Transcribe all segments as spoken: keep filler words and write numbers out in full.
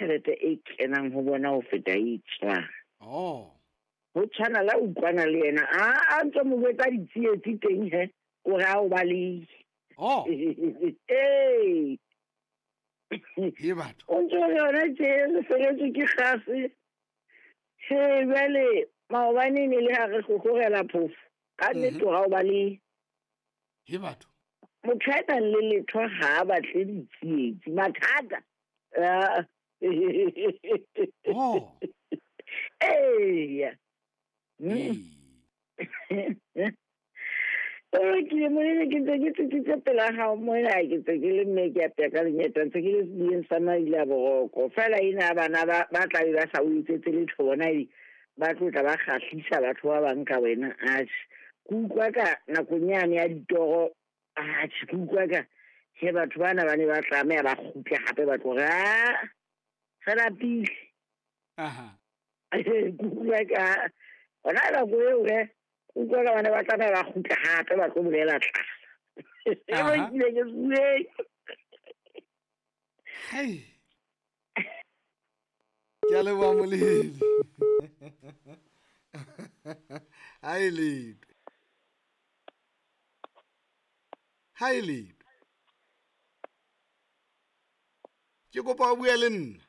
tjhelete e kenang ho bona ho feta e tswang. Oh. Ho tshwana la utlwana le yena a a ntse mo botsa ditsietsi teng he o re a o balehe. Oh. Ee. He batho. O ntse o re yona tje re feletswe ke kgase. He jwale maobane ne le ha re hlohorela phofo. Ka nnete Mhm. ha o balehe. He batho. Motho a nang le letho ha a batle ditsietsi. Mathata. Ah. Oh. Eya. Mm. Ee. O lokile monene ke ntse ke tsitsitse pela hao mona ke ntse ke le mme ke apeya ka lenyeta ntse ke le sebiyeng sa maile a boroko. Feela ena bana ba ba tla be ba sa o etsetse letho bona e ba tlo tla ba kgahlisa batho ba bang ka wena. Atjhe, ke utlwa ka nakong yane ya ditoro, atjhe ke utlwa ka he batho bana ba ne ba tlameha ba kgutle hape ba tlo re, ah, re lapile. Aha. Ke utlwa ka hona nako eo he, ke utlwa ka bana ba tlameha ba kgutle hape ba tlo bolela tlala. E Aha. lokile ke bueng. Hai. Ke a leboha moledi. Ha e letho. Ha e letho. Ke kopa o bue le nna.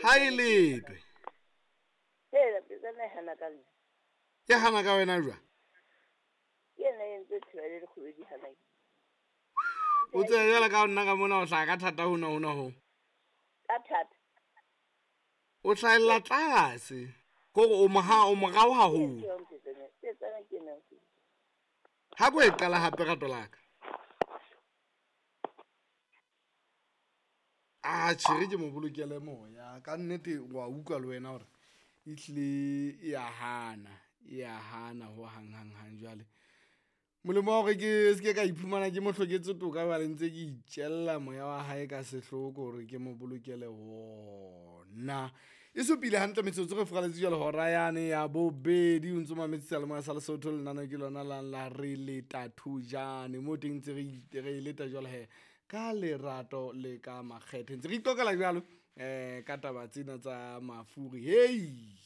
Ha e letho. Hela, petsana e hana ka nna. E hana ka wena jwang? Ke yena e entse thiba le dikgobe di hana ke. O tsebe jwale ka nna ka mona o hlaha ka thata hona hona ho. Ka thata. O hlahella tlase. Kore o moha, o morao haholo. Ke petsana ke yena. Ha ko e qala hape rato la ka. Ah, tjhe, ke mo bolokele moya. Ka nnete wa utlwa le wena hore ehlile e a hana, e a hana ho hang hang hang jwale. Molemo wa hore ke se ke ka iphumana ke mo hloketse toka jwale ntse ke itjella moya wa hae ka sehloko hore ke mo bolokele wona. E supile hantle metsotso re furaletse jwale hora yane ya bobedi o ntso mametse seyalemoya sa Lesotho lenaneo ke lona la la re leta thujane mo teng ntse re re leta jwale he ka lerato le ka makgethe ntse re iqoqela jwalo eh ka taba tsena tsa mafuri. Hei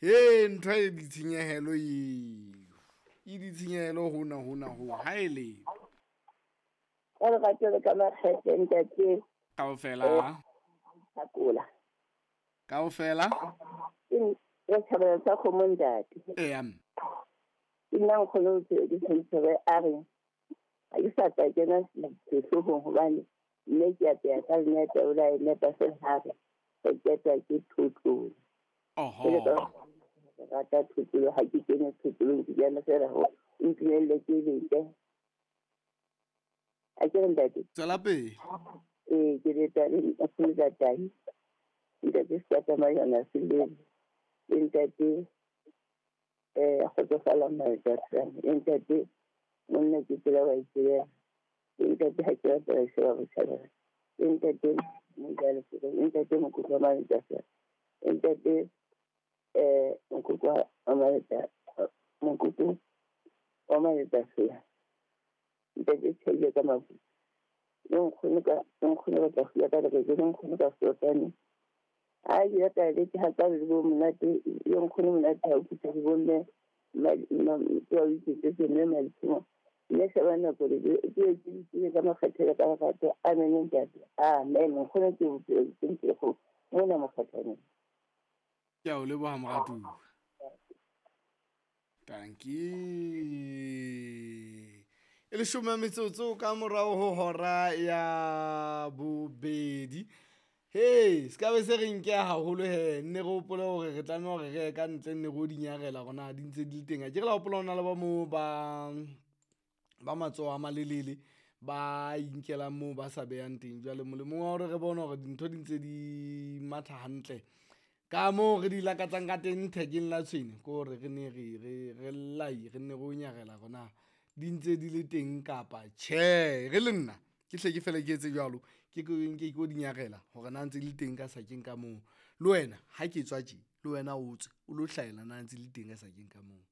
he ntho e ditshenyehelo eo e ditshenyehelo hona hona ho ha e le Ka lerato le ka makgethe ntate. Kaofela. Thakola. Kaofela. Ke re thabela sa kgomo ntate. Eya. Ke nna nkgono o tsebe ke tshwanetse re a re ha ke sa tla kena sehloohong hobane mme ke apeya ka lenyata o la e nepa fela ha re re qetwa ke thotlolo. Oho. Ke le ka rata thotlolo ha ke kene thotlolong ke kena fela ho ntumelle ke lete. A ke re ntate? Tswela pele. Ee, ke leta le nkgono Tahi. Ntate Sekata Selele. Le ntate eh Kgotsofala Majatlana. Le ntate monna ke tsela wa itsebela. Le ntate ha ke rapela ke sheba botjhabela. Le ntate Mojale Fere. Le ntate Mokoko wa Maletafela. Le ntate eh Mokoko wa Maleta, Mokoko wa Maletafela. Ntate Tshele ka mafu. Le nkgono ka, le nkgono ka tla fula ka lereko, le nkgono ka sotane. A ke rata le ke ha ka le bo monate, le nkgono monate ha o phutha le bo mme, ma, ma, ke wa itse mme Maditsimo. Mme sheba nako le ke, ke ke ke ka makgethe le ka lerato. Amen ntate. Amen. Nkgono ke bophelo ke ntse go mona mokgathaneng. Ke a o leboha moratuwa. Tanki. E leshome metsotso ka morao ho hora ya bobedi. Hey, se ka be se re nke haholo he, nne re hopole hore re tlameha hore re ye ka ntle nne re o di nyarela hore na di ntse di le teng. Akere la hopola ho na le ba moo ba, ba matsoho a malelele ba inkelang moo ba sa behang teng. Jwale molemong wa hore re bone hore dintho di ntse di matha hantle ka moo re di lakatsang ka teng thekeng la tshwene, ke hore re ne re, re, re lai, re nne re o nyarela hore na di ntse di le teng kapa tjhe. Re le nna ke hle ke fele ke etse jwalo, ke ke nke ke o di nyarela hore na ntse di le teng ka sakeng ka moo. Le wena ha ke tswa tje, le wena o tswe o lo hlahela na ntse di le teng ka sakeng ka moo.